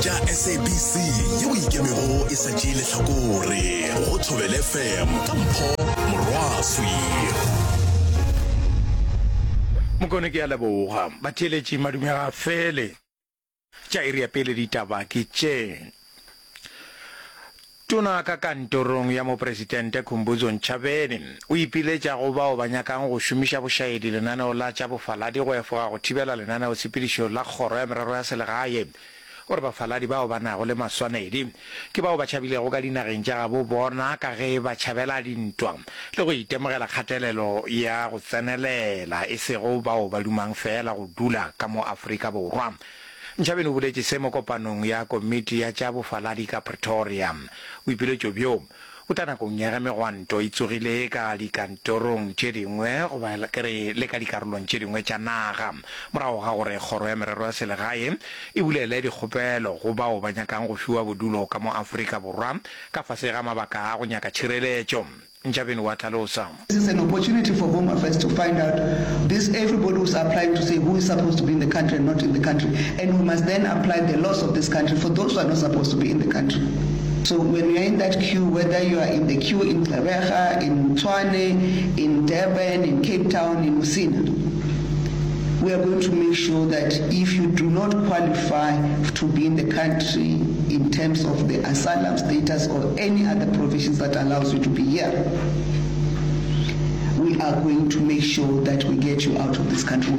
Tša SABC yeo e ikemego e sa tšee lehlakore go Thobela FM ka Mpho Morwaswi. Mokone ke a leboga. Batheeletši madume ga a fele. Tša iri ya pele ditaba ke tše. Tona ka kantorong ya Mopresidente Khumbudzo Ntshavheni o ipiletša go bao ba nyakang go šomiša bošaedi lenaneo la tša bofaladi go efoga go thibela lenaneotshepedišo la Kgoro ya Merero ya Selegae gore bafaladi bao ba nago le maswanedi ke bao ba tšhabilego ka dinageng tša gabo bona ka ge ba tšhabela dintwa le go itemogela kgatelelo ya go tsenelela e sego bao ba dumang feela go dula ka mo Afrika Borwa. Ntshavheni o boletše se mo kopanong ya komiti ya tša bofaladi ka Pretoria. Boipiletšo bjo bo tla nakong ya ge megwanto e tsogile ka dikantorong tše dingwe goba ke re le ka dikarolong tše dingwe tša naga morago ga gore Kgoro ya Merero ya Selegae e bulele dikgopelo go bao ba nyakang go fiwa bodulo ka mo Afrika Borwa ka fase ga mabaka a go nyaka tšhireletšo. Ntshavheni wa hlalosa. This is an opportunity for Home Affairs to find out this everybody who's applying to say who is supposed to be in the country and not in the country and we must then apply the laws of this country for those who are not supposed to be in the country. So when you are in that queue, whether you are in the queue in Gqeberha, in Tshwane, in Durban, in Cape Town, in Musina, we are going to make sure that if you do not qualify to be in the country in terms of the asylum status or any other provisions that allows you to be here, we are going to make sure that we get you out of this country.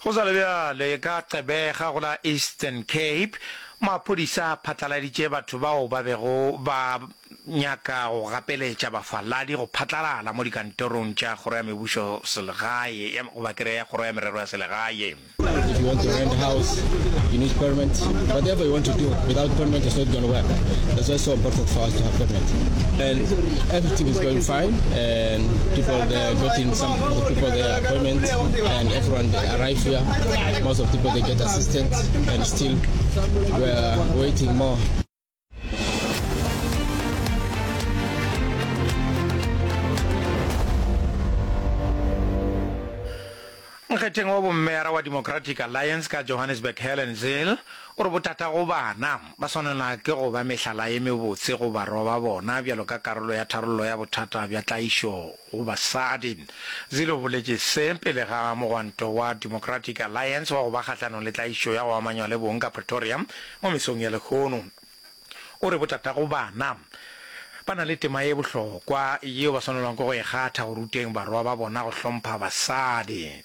Go sa le bjale, ka Gqeberha go la Eastern Cape, maphodisa a phatlaladitše batho bao ba bego ba nyaka go gapeletša bafaladi go phatlalala mo dikantorong tša Kgoro ya Mebušo Selegae, goba ke re ya Kgoro ya Merero ya Selegae. If you want to rent a house, you need permit. Whatever you want to do, without permit it's not gonna work. That's why it's so important for us to have permit. And everything is going fine, and people they're getting some of the people their appointment, and everyone they arrive here. Most of people they get assistance, and still we are waiting more. Nkgetheng wa bommeyara wa Democratic Alliance ka Johannesburg Helen Zille o re botatago bana ba swanelwa ke go ba mehlala ye mebotse go barwa ba bona bjalo ka karolo ya tharollo ya bothata bja tlaišo go basadi. Zille o boletše se pele ga mogwanto wa Democratic Alliance wa go ba kgahlanong le tlaišo ya go amanywa le bong ka Pretoria mo mesong ya lehono. O re botatago bana ba na le tema ye bohlokwa yeo ba swanelwang ke go e kgatha go ruteng barwa ba bona go hlompha basadi.